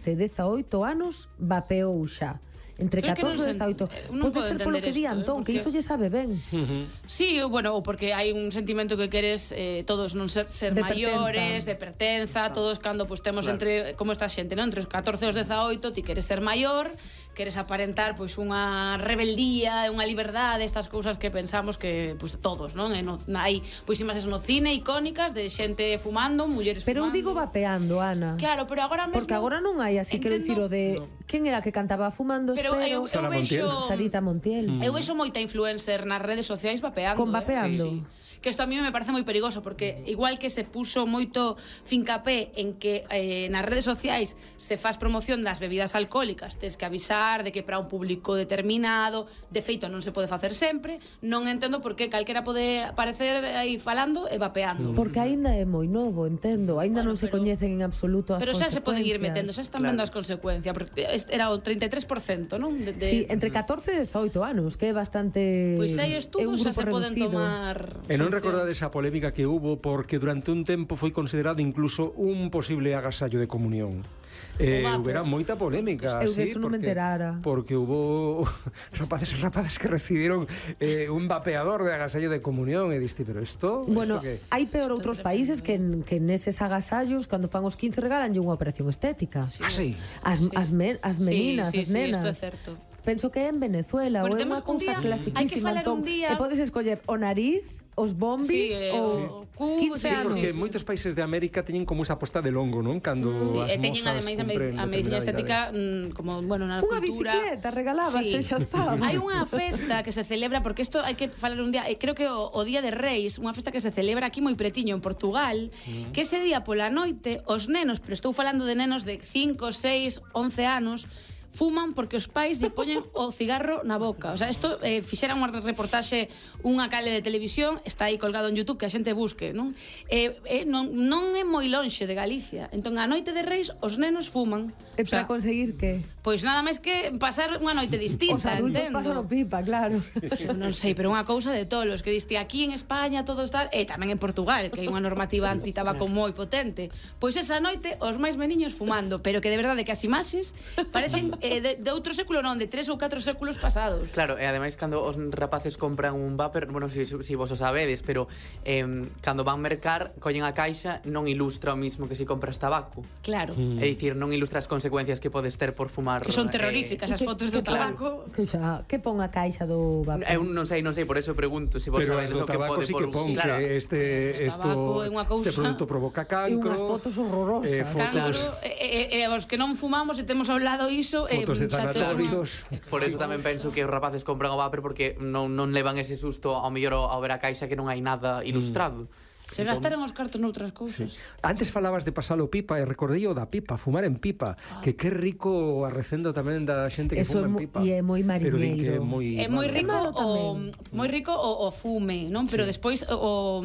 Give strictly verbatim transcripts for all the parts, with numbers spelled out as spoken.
catorce e dezaoito anos vapeou xa. Entre catorce e dezaoito. Pode ser polo que di Antón, que iso lle sabe ben. Sí, bueno, ou porque hai un sentimento que queres eh, todos non ser, ser maiores, de pertenza, todos cando pues, temos entre, como esta xente, non? Entre os catorce e os dezaoito, ti queres ser maior, queres aparentar pois unha rebeldía, unha liberdade, estas cousas que pensamos que pues, todos, non? E no, hai pois imaxes no cine icónicas de xente fumando, mulleres pero fumando. Pero eu digo vapeando, Ana. Claro, pero agora mesmo... Porque agora non hai así, quero dicir, o de... No. Quen era que cantaba fumando pero espero? Eu, eu vexo... Sarita Montiel. Mm. Eu vexo moita influencer nas redes sociais vapeando. Con vapeando? Eh? Sí, sí. Que isto a mí me parece moi perigoso, porque igual que se puso moito fincapé en que eh, nas redes sociais se faz promoción das bebidas alcohólicas, tes que avisar de que para un público determinado, de feito non se pode facer sempre, non entendo por que calquera pode aparecer aí falando e vapeando. Porque aínda é moi novo, entendo, aínda bueno, non se pero, coñecen en absoluto as pero consecuencias. Pero xa se poden ir metendo, xa están claro. vendo as consecuencias, porque era o treinta e tres por cento, non? De, de... Sí, entre catorce e dezaoito anos, que é bastante... Pois hai estudos, xa se poden tomar... E non recordades a polémica que hubo porque durante un tempo foi considerado incluso un posible agasallo de comunión. Eh, hubiera moita polémica, eu sí, eso non me porque, enterara. porque hubo rapaces e rapaces que recibieron eh, un vapeador de agasallo de comunión e diste, pero isto... Bueno, isto que... hai peor esto outros países que, que neses agasallos, cando fan os quince, regalanlle unha operación estética. Sí, ah, sí? As, sí. as, men, as meninas, sí, sí, as nenas. Sí, isto é certo. Penso que é en Venezuela, bueno, ou é unha cousa clasiquísima, Antón, e podes escoller o nariz, os bombis, sí, eh, o cubo, sí, porque sí, sí. moitos países de América teñen como esa posta de longo, non? Cando sí, as e teñen ademais a medicina estética mmm, como, bueno, na unha cultura. Unha bicicleta regalabas, sí. xa está. Hai unha festa que se celebra, porque isto hai que falar un día, creo que o, o Día de Reis, unha festa que se celebra aquí moi pretiño en Portugal, mm. que ese día pola noite os nenos, pero estou falando de nenos de cinco, seis, once anos, fuman porque os pais lle poñen o cigarro na boca. O sea, isto eh, fixera unha reportaxe, unha cale de televisión, está aí colgado en YouTube, que a xente busque, non? Eh, eh, non, non é moi lonxe de Galicia. Entón, a noite de Reis, os nenos fuman. E para o sea, conseguir que? Pois nada máis que pasar unha noite distinta, os adultos entendo. pasan o pipa, claro. Non sei, pero unha cousa de tolos, que diste aquí en España todo está, e tamén en Portugal, que hai unha normativa anti-tabaco moi potente. Pois esa noite, os máis meniños fumando, pero que de verdade que as imaxes parecen eh, de, de outro século non, de tres ou catro séculos pasados. Claro, e ademais cando os rapaces compran un vapor, bueno, si, si vos o sabedes, pero eh, cando van mercar, collen a caixa, non ilustra o mismo que si compras tabaco. Claro. Mm. É dicir, non ilustra as consecuencias que podes ter por fumar. Que son terroríficas eh, as fotos do tabaco. Que xa, que pon a caixa do vapor? Eu non sei, non sei, por eso pregunto se vos pero sabedes o que pode sí que pon claro. que este esto este producto provoca cancro. E unhas fotos horrorosas. Eh, fotos... Cancro, e, e, e os que non fumamos e temos ao lado iso, fotos eh, de tanatorios. Por eso tamén penso que os rapaces compran o vapor porque non, non levan ese susto ao mellor ao ver a caixa que non hai nada ilustrado. Mm. Se gastaron os cartos noutras cousas. Sí. Antes falabas de pasalo pipa e recordei o da pipa, fumar en pipa, ah. que que rico arrecendo tamén da xente que eso fuma en pipa. E é moi mariñeiro. É moi é moi rico o moi rico o, o fume, non? Pero sí. despois o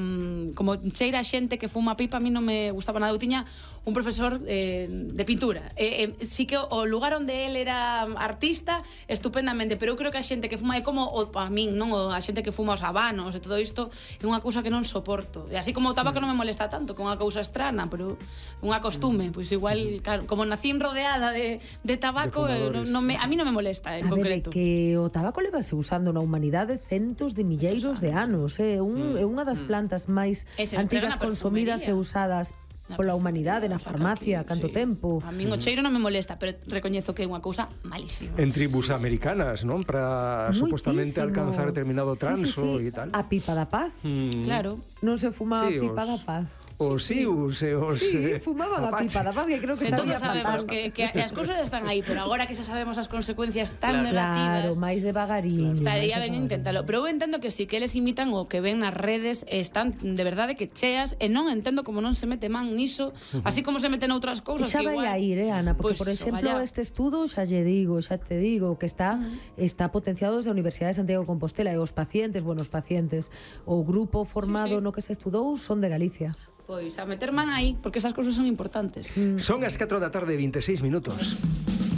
como cheira a xente que fuma pipa, a mí non me gustaba nada. Eu tiña un profesor eh, de pintura. Eh, eh, sí que o lugar onde el era artista, estupendamente, pero eu creo que a xente que fuma é como o, a min, non? O, a xente que fuma os habanos e todo isto é unha cousa que non soporto. E así como o tabaco non me molesta tanto, con unha cousa estrana, pero unha costume, pois igual, claro, como nacín rodeada de, de tabaco, de non, non me, a mí non me molesta en a concreto. Ver, que o tabaco levase usando na humanidade centos de milleiros de anos, é eh? un, mm. unha das plantas máis antigas consumidas e usadas pola humanidade, na farmacia, canto sí. tempo. A min o cheiro non me molesta, pero recoñezo que é unha cousa malísima. En tribus americanas, non? Para supostamente alcanzar determinado transo sí, sí, sí. e tal. A pipa da paz. Mm. Claro. Non se fumaba sí, a pipa os... da paz. Os sius e os sí, fumaban a pipa da paz, que creo que se sabía todos sabemos que, que as cousas están aí, pero agora que xa sabemos as consecuencias tan claro, negativas, claro, máis devagarín, estaría ben inténtalo, pero eu entendo que si que eles imitan o que ven nas redes, están de verdade que cheas, e non entendo como non se mete man niso, uh-huh. así como se meten outras cousas que igual. Xa vai a ir, eh, Ana, porque, pues, por exemplo, este estudo, xa lle digo, xa te digo, que está uh-huh. está potenciado desde a Universidade de Santiago de Compostela, e os pacientes, bueno, os pacientes, o grupo formado sí, sí. no que se estudou son de Galicia. Pois a meter man aí, porque esas cousas son importantes. Mm. Son as catro da tarde, vinte e seis minutos.